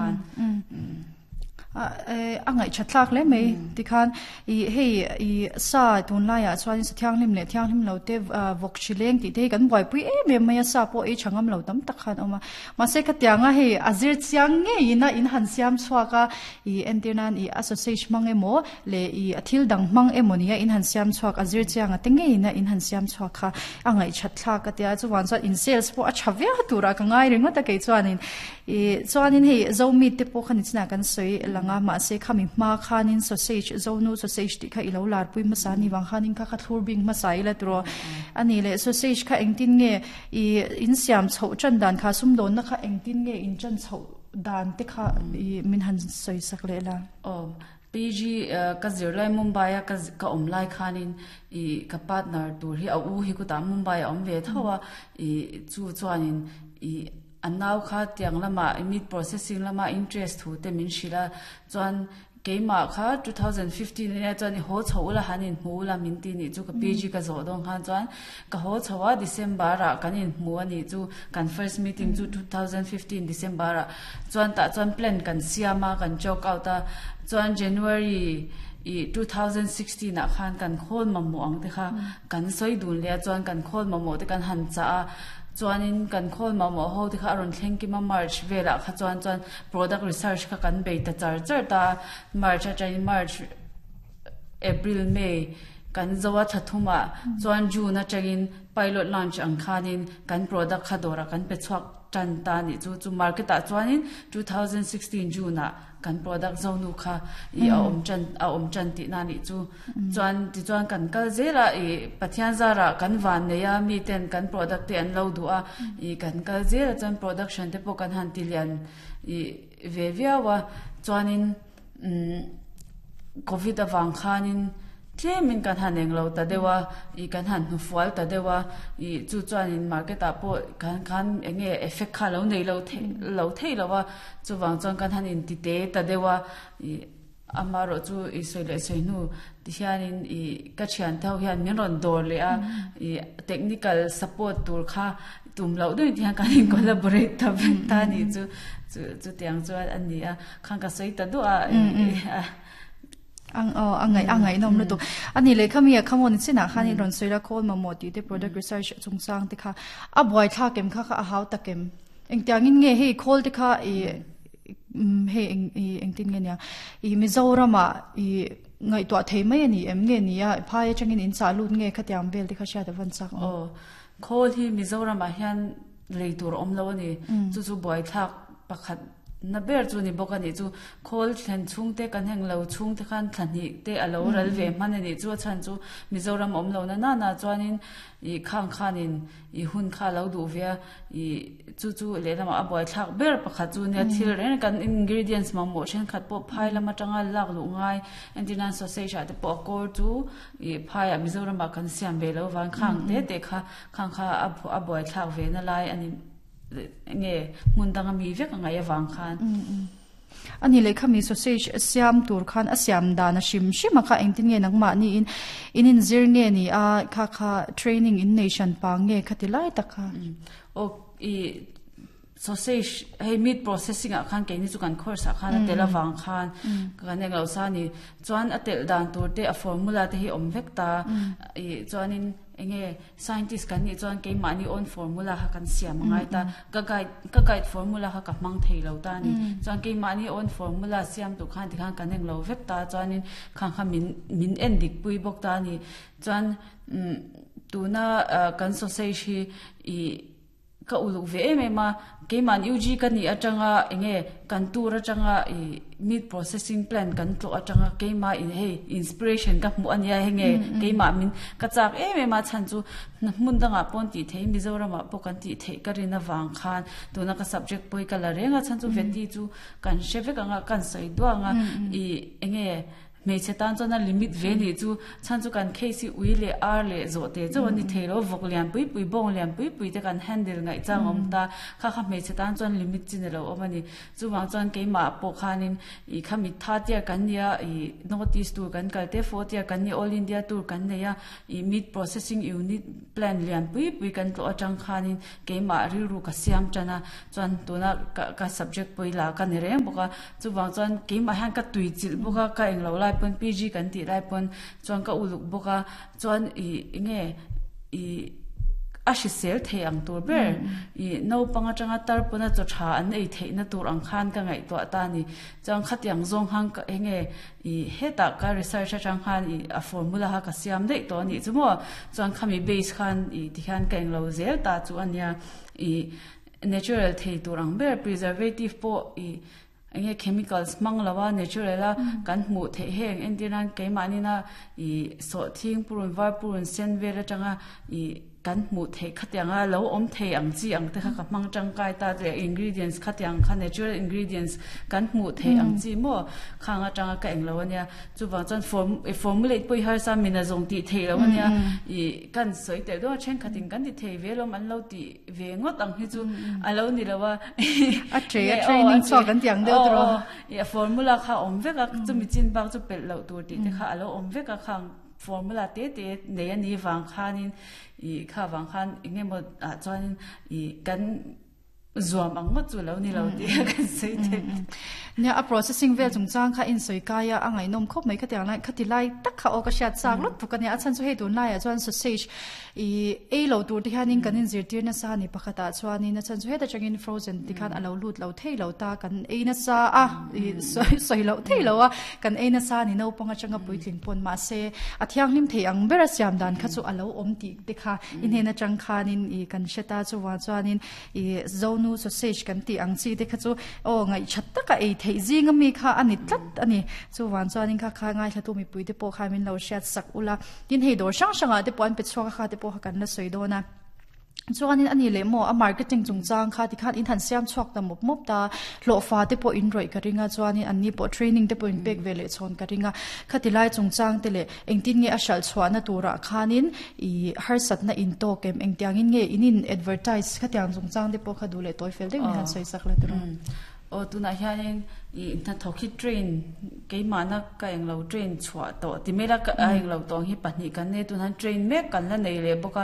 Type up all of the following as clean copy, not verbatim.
khan. A ngaih that thlak hle mai tikhan i hei i sa tunlaiah chuan sa thianghlim leh thianghlim lo te vawk hri leng tih te hi kan buaipui em em mai a sa pawh ei tha ngam lo tam tak khan a awm a mahse khatianga hei a zir chiang ngeiin a in han siam chhuak a i entir nan i a sausage hmang emaw leh i a thil dang hmang emaw nia in han siam chhuak a zir chianga te ngeiin a in han siam chhuak kha a ngaih that thlak a tia chuvang chuan in sales pawh a tha viau turah ka ngai ringawt a kei chuanin Ih, chuanin hei Zomi te pawh kha nichinah kan sawi lang a, mahse khami hma khanin sausage, Zonu sausage tih kha i lo larpui hmasa a ni vang khanin kha kha thlur bing hmasa ila tiraw a ni le. Sausage kha engtin nge ih in siam chhoh tan dan kha, sumdawnna kha engtin nge in tan chhoh dan te kha ih min han sawi sak leh la. Aw, PG ka zir lai Mumbai a ka awm lai khanin ih ka partner tur hi a u hi kutah Mumbai a awm ve tho a, ih chu chuanin ih A nau kha tiang lamah meat processing lama interest thu te min hrilh a, chuan keimah kha 2015 ania chuan i haw chho ula han inhmu ula min ti nih chu ka PG ka zawh dawn khan chuan ka haw chho a December ah kan inhmu a nih chu kan first meeting chu 2015 December ah chuan tah chuan plan kan siam a kan chalk out a chuan January i 2016 ah khan kan khawl mamawh ang te kha kan sawi dun leh a chuan kan khawl mamawh te kan han chah a. Chuanin kan khawl mamawh ho te kha a rawn thleng kim a, March velah kha chuan chuan product research kha kan bei ta char char ta a, March atangin March, April, May kan zo a thla thum ah chuan June atangin pilot launch ang khanin kan product kha dawrah kan pe chhuak tan ta a nih chu. Chu market ah chuanin 2016 June ah kan product zonu kha i a awm tan a awm tan tihna nih chu chuan tichuan kan kal zel a i Pathian zarah kan van nei a mi ten kan product te an lo duh a i kan kal zel a chuan production te pawh kan han ti lian i ve viau a chuanin umm covid avang khanin Tlemin kan han englo ta deuh a, ih kan han hnufual ta deuh a, ih chu chuanin market ah pawh kan khan eng nge effect kha lo nei lo thei lo thei lo a, chuvang chuan kan han inti te ta deuh a, ih amaherawh chu ih sawi leh sawi hnu ti hianin ih ka thiante ho hian min rawn dawr leh a, ih technical support tur kha tum loh deuhin ti hian kan in collaborate ta vek ta a nih chu, chu chutiang chuan a ni a, khan ka sawi ta duah a ih. Ang aw a ngaih a ngaihnawm lutuk. A ni leh khami a khamawni chinah khan i rawn sawi la khawl mamawh tih te product research chungchang te kha a buaithlak em kha kha a hau tak em? Engtiangin nge hei khawl te kha i hei eng i engtin nge nia i Mizoramah i ngaihtuah thei mai a ni em nge ni a phai atangin in chah lut nge khatiang vel te kha hriat a van chak awm. Aw khawl hi Mizoramah hian lei tur a awm lo a ni. Chu chu buaithlak pakhat Na ber chu ni bawk a nih chu. Khawl thlen chhungte kan heng lo chhungte khan thla hnih te a lo ral ve hman a nih chu. A chhan chu Mizoram awm lo na nana chuanin ih khang khanin ih hun kha a lo duh ve a, ih chu chu lehlamah a buaithlak ber pakhat chu nia thil reng kan ingredients mamawh thenkhat pawh phai lam atanga lak luh ngai entir nan sausage ah te pawh a kawr chu ih phaiah Mizoramah kan siam ve lo vang khang te te kha khang kha a buaithlak ve na lai a ni. Nge hmun danga mi vek a ngaih avang khan. A ni leh khami sausage siam tur khan a siam dan a hrim hrim a kha engtin nge nangmah niin in inzir nge ni a kha kha training in nei hran pa nge kha ti lai tak kha. Aw i sausage hei meat processing ah khan keini chu kan course ah khan a tel avang khan kan englo sa a ni chuan a telh dan tur te a formula te hi awm vek ta i chuanin enge Scientist kan nih chuan keimahni own formula kha kan siam a ngai ta. Ka guide ka guide formula kha ka hmang thei lo ta a ni. Chuan keimahni own formula siam tur khan tikhan kan eng lo vek ta chuanin khang kha min min en dik pui bawk ta a ni. Chuan umm tuna kan sausage hi ih ka uluk ve em em a, keimahni UG ka nih atanga eng nge kan tour atanga ih meat processing plant kan tlawh atanga keimah in hei inspiration ka hmuh a nia hei nge keimah min ka chak em em a chhan chu hmun dangah pawh an tih theih Mizoramah pawh kan tih theih ka rin avang khan tuna ka subject pawh hi ka la reng a chhan chu veti chu kan hre vek ang a kan sawi duang a ih eng nge. Hmeichhe tan chuan a limit ve nih chu chhan chu kan case hi ui leh ar leh zawh te chauh a ni thei lo, vawk lian pui pui, bawng lian pui pui te kan handle ngaih chang a awm ta, kha kha hmeichhe tan chuan limit chi ni lo awm a ni. Chuvang chuan keimah pawh khanin ih kha mit tha tiar kan nia ih North East tur kan kal te, fourth year kan nia All India tour kan nei a, ih meat processing unit plant lian pui pui kan tlawh atang khanin keimah rilru ka siam tan a, chuan tuna ka ka subject pawh i la ka ni reng bawk a, chuvang chuan keimah hian ka tui chilh bawk a, ka englo lai pawn PG kan tih lai pawn chuan ka uluk bawk a, chuan ih enge ih a hrisel thei ang tur ber ih naupang atanga tar pawna chaw tha an ei theihna tur ang khan ka ngaihtuah ta a ni, chuan khatiang zawng khan ka enge ih hetah ka research atang khan ih a formula kha ka siam daih tawh a nih chu maw chuan khami base khan ih tikhian ka englo zel ta chu a nia ih natural thei tur ang ber preservative pawh ih enge chemicals hmang lo a natural a kan hmuh theih heng entir nan keimahni na ih sawhthing purun var purun sen vel atanga ih kan hmuh theih khatiang a lo awm thei ang chi ang te kha ka hmang tangkai ta leh ingredients khatiang kha natural ingredients kan hmuh theih ang chi maw khang atanga ka englo ania chuvang chuan form formulate pawh i harsa min a zawng tih theih loh ania ih kan sawi tel dawn a thenkhatin kan ti thei ve lawm an lo tih ve ngawt ang hi chu a lo ni lo a a tre a training chhuak kan tih ang deuh tawh aw a formula kha a awm vek a chumi chin bak chu pelh loh tur tih te kha a lo awm vek a khang formula te te nei a nih vang khanin ih kha vang khan eng emaw ah chuanin ih kan zuam ang ngawt chu lo ni lo tih a kan sawi thei. Nia a processing vel chungchang kha insawi kai a, a ngaihnawm khawp mai khatiang lai khati lai tak kha aw ka hriat chak lawt tuk a nia, a chhan chu hei tunlaiah chuan sausage ih ei lo tur te hianin kan inzirtir nasa a ni pakhatah chuanin a chhan chu heta tangin frozen ti khan a lo lut lo thei lo ta kan ei nasa a ih sawi sawi loh thei lo a kan ei nasa a ni naupang atanga puitling pawn mahse a thianghlim thei ang bera siam dan kha chu a lo awm tih te kha i hnen atang khanin ih kan hre ta chuvang chuanin ih zonu sausage kan tih ang chi te kha chu aw ngaihthat taka ei theih zing ami kha a ni tlat a ni chuvang chuanin kha kha ngaithlatu mipui te pawh kha min lo hriat sak ula tin hei dawr hrang hrangah te pawh an pe chhuak a kha te pawh kha kan la sawi dawn a chuanin a ni leh maw a marketing chungchang kha tikhan in han siam chhuak ta mawp mawp ta hlawhfa te pawh in rawih ka ring a chuanin an ni pawh training te pawh in pek ve leh chhawn ka ring a khati lai chungchang te leh Engtin nge a hralh chhuahna turah khanin i harsatna in tawk em? Engtiangin nge in in advertise khatiang chungchang te pawh kha duh leh tawi fel deuhin han sawi sak la tiraw? Aw tunah hianin i hnathawk hi train keimahna ka englo train chhuah tawh ti mai la ka englo tawng hi pahnih kan nei tunah hian train mek kan la nei leh bawk a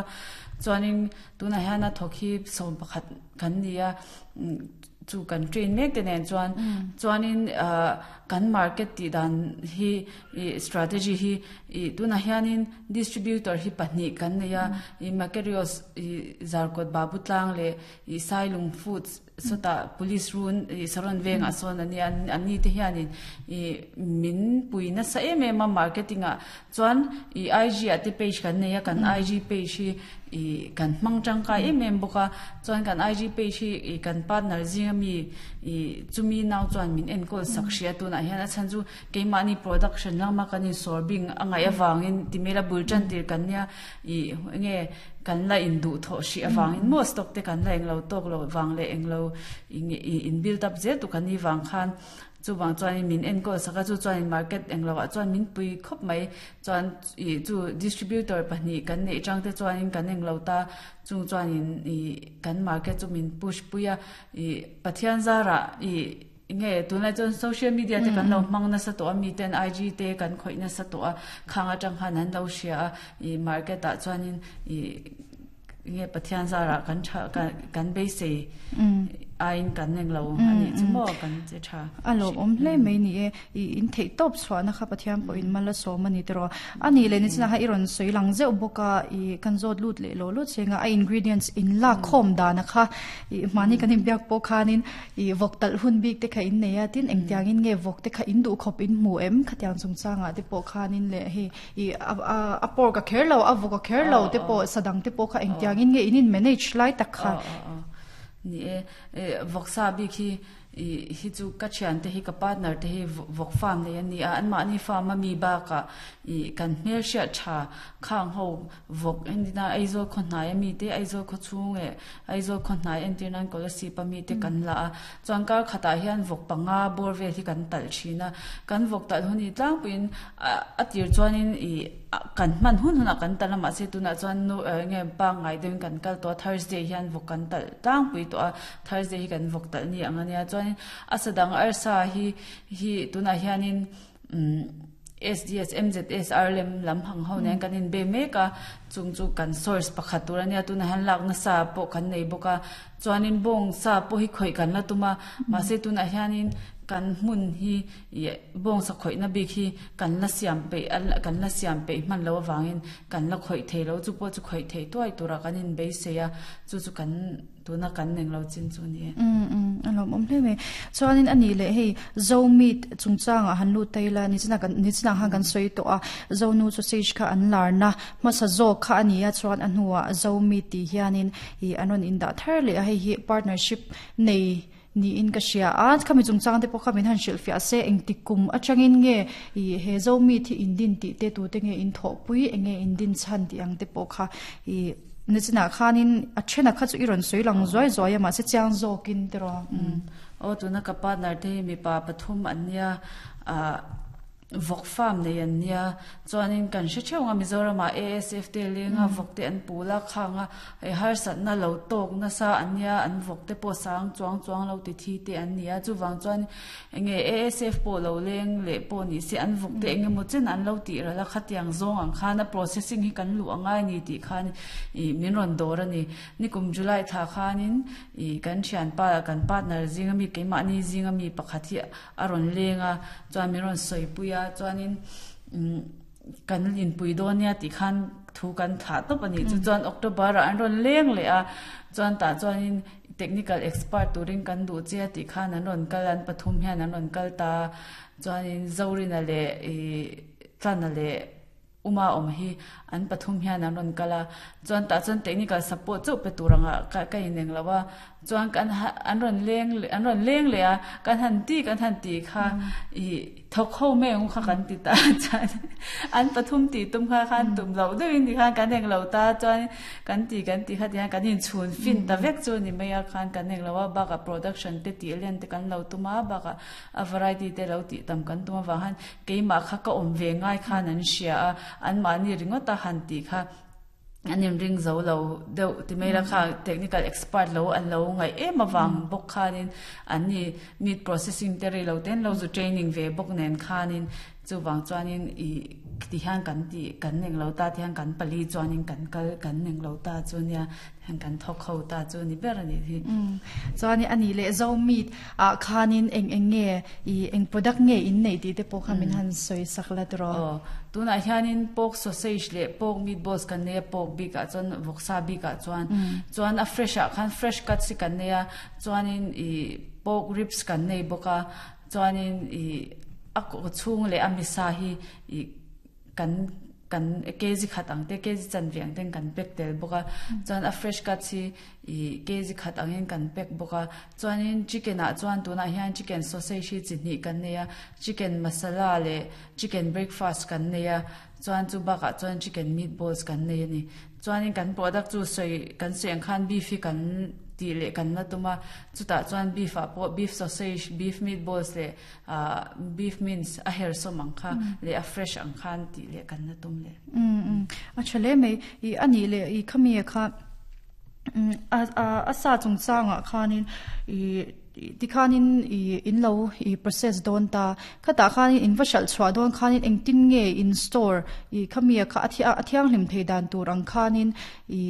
chuanin tunah hian a thawk hi 11 kan ni a chu kan train mek te nen chuan chuanin ah kan market tih dan hi ih strategy hi ih tunah hianin distributor hi pahnih kan nei a ih Makarios ih Zarkawt Babu tlang leh ih Sailung Foods sawtah police run ih Saron vengah sawn a nia an ni te hianin ih min pui nasa em em a marketing ah chuan ih IG ah te page kan nei a kan IG page hi ih kan hmang tangkai em em bawk a chuan kan IG page hi ih kan partner zinga mi ih chumi nau chuan min enkawl sak hrih a tunah hian a chhan chu keimahni production lama kan insawr bing a ngaih avangin ti mela bul tan tir kan nia ih enge kan la induh thawh hrih avangin maw stock te kan la englo tawk loh vang leh englo ih in build up zel tu kan nih vang khan Chuvang chuanin min enkawl sak a, chu chuanin market englo ah chuan min pui khawp mai. Chuan ih chu distributor pahnih kan neih tang te chuanin kan englo ta, chung chuanin ih kan market chu min push pui a. Ih Pathian zarah ih nge tunlai chuan social media te kan lo hmang nasa tawh a, miten IG te kan khawih nasa tawh a, khang atang khan an lo hria a, ih market ah chuanin ih Nge Pathian zarah kan tha kan beisei aiin kan eng lo a nih chu maw kan che tha. A lawmawm hle mai ni e. I in theih tawp chhuahna kha Pathian pawhin mal a sawm a ni tiraw. A nih leh nichina kha i rawn sawi lang zeuh bawk a, i kan zawt lut leh lo lut chenga a ingredients in lak khawm dana kha i mahni kan inbiak pawh khanin i vawk talh hun bik te kha in nei a, tin engtiangin nge vawk te kha in duh khawp in hmu em khatiang chungchangah te pawh khanin leh hei I a pork a kher lo, a vawk a kher lo te pawh sadang te pawh kha engtiangin nge in in manage lai tak kha. Ni e, vawksa bik hi I hi chu ka thiante hi ka partner te hi vawk farm nei an ni a, anmahni farm a mi bakah ih kan hmelhriat tha khang ho vawk entina Aizawl khaw hnai a mi te Aizawl khaw chhung leh Aizawl khaw hnai entir nan Kolasib a mi te kan la a, chuan kar khatah hian vawk panga bawr vel hi kan talh thin a, kan vawk talh hun hi tlangpuiin a tir chuanin ih kan hman hun hunah kan talh a mahse tunah chuan nu eng nge pangngai deuhin kan kal tawh a Thursday hian vawk kan talh tlangpui tawh a. Thursday hi kan vawk talh ni ang a nia chuanin a sa dang arsa hi hi tunah hianin umm SDS MZS RLM lam hang ho nen kan inbe mek a chung chu kan source pakhat tur a nia tunah hian lak nasa pawh kan nei bawk a chuanin bawng sa pawh hi khawih kan la tum a mahse tunah hianin kan hmun hi ih bawng sa khawihna bik hi kan la siam peih kan la siam peih hman loh avangin kan la khawih thei lo chu pawh chu khawih theih tuai turah kan inbeisei a chu chu kan. Tuna kan eng lo chin chu ni e. Umm umm a lawmawm hle mai. Chuanin a nih leh hei Zo meat chungchangah han lut ta ila nichina kan nichina khan kan sawi tawh a, Zonu sausage kha an larna hmasa zawk kha a ni a chuan a hnuah Zo meat tih hianin ih an rawn indah thar leh a hei hi partnership nei niin ka hria a, khami chungchang te pawh kha min han hrilhfiah se engtik kum atangin nge ih he Zo meat hi in din tih te tute nge in thawhpui eng nge in din chhan tih ang te pawh kha ih Nichina khanin a thena kha chu i rawn sawi lang zuai zuai a mahse chiang zawkin tiraw. Aw tuna ka partner te hi mipa pathum an nia ah vawk farm nei an nia chuanin kan hre theuh ang a Mizoram ah ASF te leng a vawk te an pul a khang a hei harsatna lo tawk nasa an nia an vawk te pawh sang chuang chuang lo ti thi te an ni a chuvang chuan Enge ASF pawh lo leng leh pawh ni se an vawk te eng emaw chen an lo tih ral a khatiang zawng ang khan a processing hi kan luh angai ni tih khan ih min rawn dawr a ni. Nikum July thla khanin ih kan thianpa kan partner zinga mi keimahni zinga mi pakhat hi a rawn leng a chuan min rawn sawipui a chuanin umm kan inpui dawn nia tih khan thu kan thlah tawp a nih chu chuan October ah an rawn leng leh a chuan tah chuanin Technical expert turin kan duh che a tih khan an rawn kal a, an pathum hian an rawn kal ta a, chuanin Zorina leh ih Tlana leh Uma awm hi an pathum hian an rawn kal a, chuan tah chuan technical support chauh pe tur angah ka ka ineng lo a, chuan kan an rawn leng an rawn leng leh a, kan han ti kan han tih kha ih. Thawk ho mai ang u kha kan ti ta chuan an pathum tih tum kha khan tum loh deuhin ti khan kan eng lo ta chuan kan ti kan ti kha ti khan kan inchhun fin ta vek chu ni mai a khan kan eng lo a bakah production te tih len te kan lo tum a bakah a variety te lo tih tam kan tum avang khan keimah kha ka awm ve ngai khan an hria a anmahni ringawt a han tih kha An inring zo lo deuh ti mai la kha technical expert lo an lo ngaih em avang bawk khanin an ni meat processing te rei lo ten lo zu training ve bawk nen khanin chuvang chuanin ih ti hian kan tih kan eng lo ta ti hian kan pali chuanin kan kal kan eng lo ta chu nia hian kan thawk ho ta chu ni ber a nih hi. Chuanin a nih leh zo meat ah khanin eng eng nge ih eng product nge in neih tih te pawh kha min han sawi sak la tiraw? Aw, tunah hianin pork sausage leh pork meatballs kan nei a, pork bikah chuan vawksa bikah chuan chuan a fresh ah khan fresh cuts hi kan nei a, chuanin ih pork ribs kan nei bawk a, chuanin ih a kawchhung leh a misa hi ih kan kan kg khat ang te kg chanve ang ten kan pack tel bawk a chuan a fresh cuts hi ih kg khat angin kan pack bawk a chuanin chicken ah chuan tunah hian chicken sausage hi chi hnih kan nei a chicken masala leh chicken breakfast kan nei a chuan chu bakah chuan chicken meatballs kan nei a ni Chuanin kan product chu sawi kan sawi ang khan beef hi kan tih leh kan la tum a, chutah chuan beef ah pawh beef sausage, beef meatballs leh ah beef mince a hersawm ang kha leh a fresh ang khan tih leh kan la tum leh. Umm umm a tha hle mai i a nih leh i khami kha umm a a sa chungchangah khanin i Tikhanin i in lo i process dawn ta. Khatah khanin in va hralh chhuah dawn khanin engtin nge in store i khami kha a thianghlim thei dan tur ang khanin i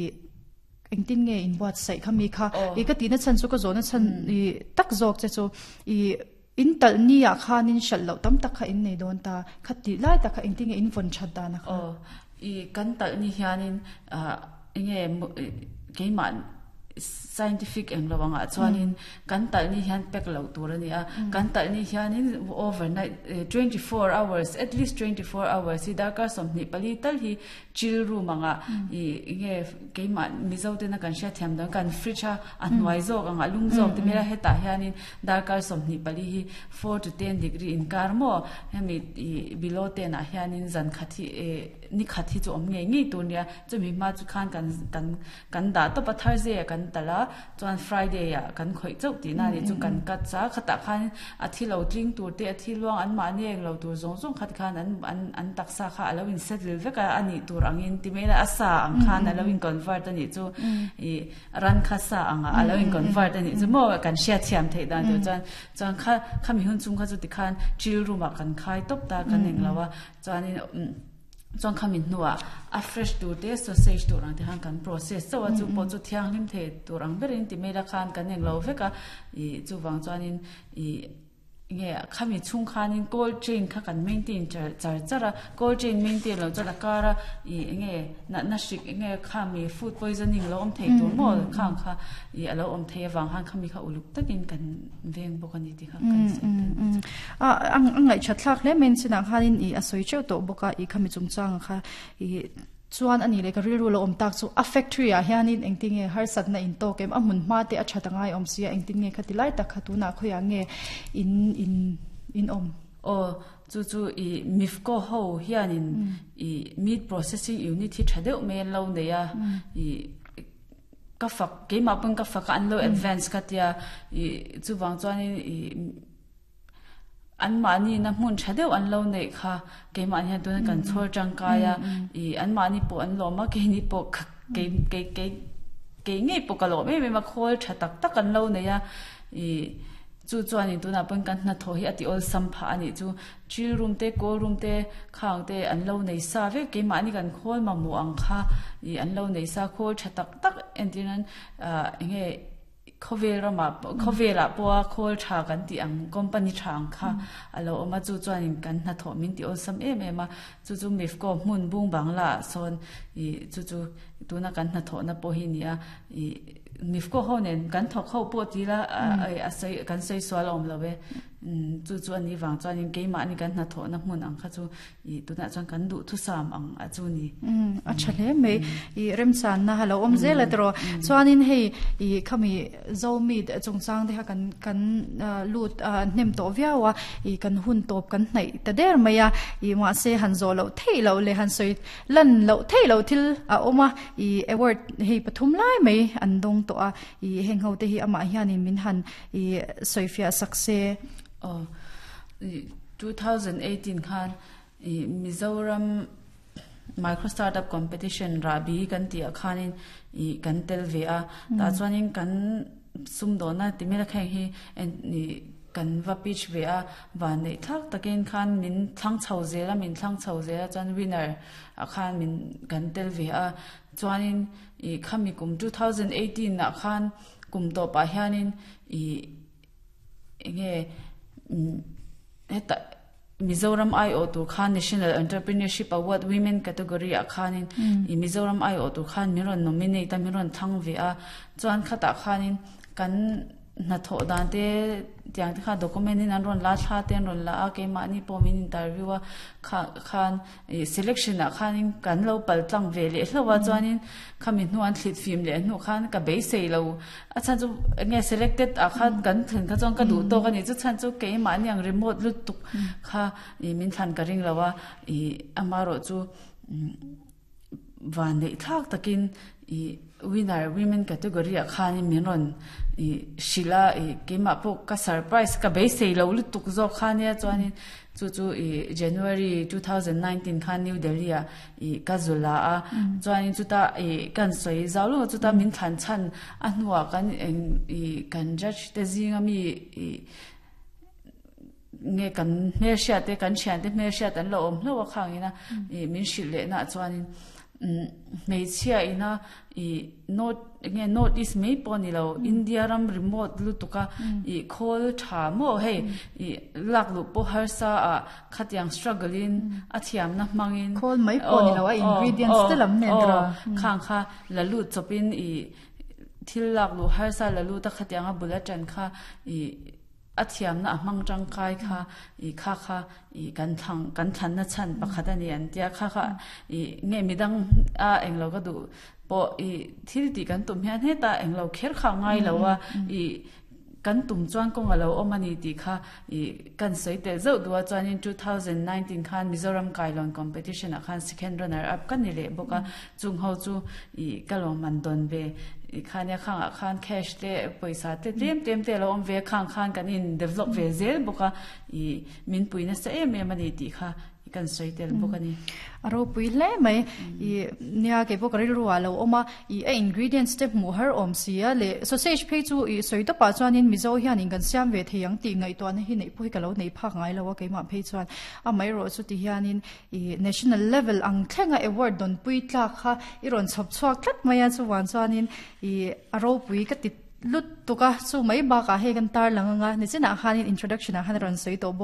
engtin nge in buatsaih khami kha i ka tihna chhan chu ka zawhna chhan i tak zawk che chu i in talh ni ah khanin hralh loh tam tak kha in nei dawn ta. Kha tih lai tak kha engtin nge in vawn that dan a kha. Aw i kan talh ni hianin ah enge keimah. Scientific eng lo angah chuanin kan talh ni hian pack loh tur a ni a, kan talh ni hianin overnight 24 hours at least 24 hours hi darkar 24 tal hi chill room angah ih enge keimah Mizo tena kan hriatthiam dawn kan fridge a a hnuai zawk angah lum zawk te hmel a hetah hianin darkar 24 hi 4 to 10 degree inkar maw hemi ih below 10 ah hianin zan khat hi eh ni khat hi chu awm ngei ngei tur a nia chumi hma chu khan kan kan Kan dah tawp a Thursday ah kan talh a, chuan Friday ah kan khawih chauh tihna a nih chu kan cut a, khatah khan a thi lo tling tur te a thi luang an mahni eng lo tur zawng zawng khat khan an an an taksa kha a lo in settle vek a, a nih tur angin ti mai ila a sa ang khan a lo in convert a nih chu ih ran kha sa ang ah a lo in convert a nih chu maw kan hriatthiam theih dan tur chuan chuan kha khami hun chung kha chu tikhan chill room ah kan khai tawp ta kan englo a chuanin Chuan khami hnuah a fresh tur te sausage tur ang te khan kan process chauh a, chu pawh chu thianghlim thei tur ang berin ti mail a khan kan englo vek a, ih chuvang chuanin ih nge khami chhung khanin cold chain kha kan maintain char char char a, cold chain maintain loh chuan a kar a ih enge natna hrik enge khami food poisoning lo awm thei tur maw khang kha ih a lo awm thei avang khan khami kha uluk takin kan veng bawk a ni tih kha kan sawi tel. A a ngaihṭhat thlak hle mai chinah khanin ih a sawi teuh tawh bawk a ih khami chungchang kha ih chuan a nih leh ka rilru lo awm tak chu a factory ah hianin engtin nge harsatna in tawk em a hmun hma te a ṭhat a ngai awm sia engtin nge khati lai tak kha tunah khawiah nge in in in awm. Aw chu chu ih MIFCO ho hianin ih meat processing unit hi ṭha deuh mai an lo nei a ih ka fak keimah pawn ka fak a an lo advance ka tia ih chuvang chuanin ih Anmahni na hmun tha deuh an lo neih kha keimahni hian tuna kan chhawr tangkai a, ih anmahni pawh an lawm a, keini pawh kei kei kei kei ngei pawh ka lawm em em a, khawl tha tak tak an lo nei a, ih chu chuanin tunah pawhin kan hnathawh hi a ti awlsam phah a nih chu, chill room te cold room te khang te an lo nei sa vek, keimahni kan khawl mamawh ang kha ih an lo nei sa, khawl tha tak tak entir nan ah eng nge. Khawvel ramah khawvelah pawha khawl tha kan tih ang company tha ang kha a lo awm a, chu chuanin kan hnathawh min ti awlsam em em a, chu chu Mifco hmun bung bangla ah sawn ih chu chu tuna kan hnathawhna pawh hi ni a, ih Mifco ho nen kan thawk ho pawh ti ila a sawi kan sawi sual a awm lo e, chu chu a nih vang chuanin keimahni kan hnathawhna hmun ang kha chu Ih tunah chuan kan duhthusam ang a chu ni. Umm a tha hle mai. Ih remchanna a lo awm zel a tiraw. Chuanin hei ih khami Zomi chungchang te kha kan kan lut hnem tawh viau a, ih kan hun tawp kan hnaih ta der mai a, ih mahse han zawh loh theih loh leh han sawi lan loh theih loh thil a awm a, ih award hei pathum lai mai an dawng tawh a, ih heng ho te hi amah hianin min han ih sawifiah sak se. Aw. 2018 khan ih Mizoram Micro Startup Competition rahbi kan tih ah khanin ih kan tel ve a, tah chuanin kan sumdawhna ti mela kheng hi ih kan va pitch ve a, van neih thlak takin khan min thlang chho zel a, min thlang chho zel a chuan winner ah khan min kan tel ve a, chuanin ih khami kum 2018 ah khan kum tawpah hianin ih Enge heta Mizoram aiawh tur khan National Entrepreneurship Award Women category ah khanin i Mizoram aiawh tur khan min rawn nominate a min rawn thlang ve a chuan khatah khanin kan hnathawh dan te tiang te kha document in an rawn la thla te an rawn la a keimahni pawh min interview a kha khan Ih selection ah khanin kan lo pal tlang ve leh hlauh a chuanin khami hnu an thlit fim leh hnu khan ka beisei lo a chhan chu enge selected ah khan kan thlen kha chuan ka duh tawk a ni chu chhan chu keimahni ang remote lutuk kha ih min thlan ka ring lo a ih amaherawh chu van neih thlak takin ih winner women category ah khanin min rawn ih hrilh a ih keimah pawh ka surprise ka beisei lo lutuk zawk kha nia chuanin. Chu chu i January 2019 khan New Delhi ah i ka zu la a, chuanin chuta i kan sawi zau lutuk a, chuta min thlan chhan a hnuah kan eng i kan judge te zinga mi i nge kan hmelhriat te kan thian te hmelhriat an lo awm hlauh a khangin a i min hrilh leh na chuanin hmeichhia ina i North enge North East mai pawh a ni lo India ram remote lutuk a ih khawl tha maw hei ih lak luh pawh harsa ah khatiang struggle in a thiamna hmangin Khawl mai pawh a ni lo a ingredients te lam nen tawh khang kha la lut chawpin ih. thil lak luh harsa la lut a khatianga bul atang kha i a thiamna a hmang tangkai kha i kha kha i kan thlang kan thlanna chhan pakhat a ni an tia kha kha i nge midang a englo ka duh pawh i thil tih kan tum hian heta englo kher kha ngai lo a i kan tum chuan kawng a lo awm a ni tih kha i kan sawi tel zauh duh a chuanin 2019 khan Mizoram Kailawn competition ah khan second runner up ka ni leh bawk a chung ho chu i ka lawmman dawn ve i khania khangah khan cash te pawisa te tlem tlem te lo awm ve khang khan kan in develop ve zel bawk a i min pui nasa em em a ni tih kha kan sawi tel bawk a ni. A ropui hle mai. I nia kei pawh ka rilru ah lo awm a, i a ingredients te hmuh har awm si a leh sausage phei chu i sawi tawpah chuanin Mizo hianin kan siam ve thei ang tih ngaihtuahna hi neih pawh hi ka lo nei phak ngai lo a keimah phei chuan amaherawh chu ti hianin i national level ang thlenga award dawnpui tlak kha i rawn chhawp chhuak tlat mai a chuvang chuanin i a ropui ka ti lut tuk a chu mai bakah hei kan tarlang anga nichinah khanin introduction ah khan a rawn sawi tawh bawk.